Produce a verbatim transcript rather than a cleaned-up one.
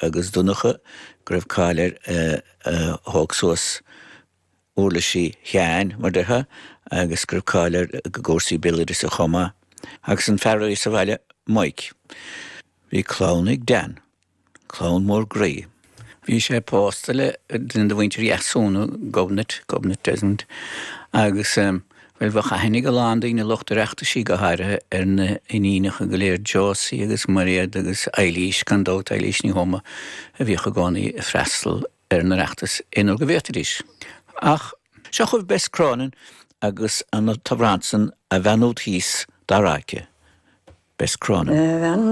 agus Donncha go raibh cáil air a thóg suas uirlisí Sheáin mar déarfá agus go raibh cáil air i gcúrsaí béaloideasa chomh maith. Agus an fear a bhí sa bhaile Mike. Bhí clann ag Dan, clann mór groí. Bhí sé pósta le duine de mhuintir Dheasúna Gobnait Gobnait Desmond agus um, well bheadh aithne ag a lán daoine lucht Oireachtaisí go háirithe ar na hiníonacha go léir Josie agus Mairéad agus Eilís gan dabht Eilís Ní Thuama a bhíodh i gcónaí ag freastal ar an Oireachtas aon uair go bhféadfaidís. Ach seo chugaibh Bess Cronin agus an t-amhrán san a bheannú thíos dá ráice. Bess Cronin.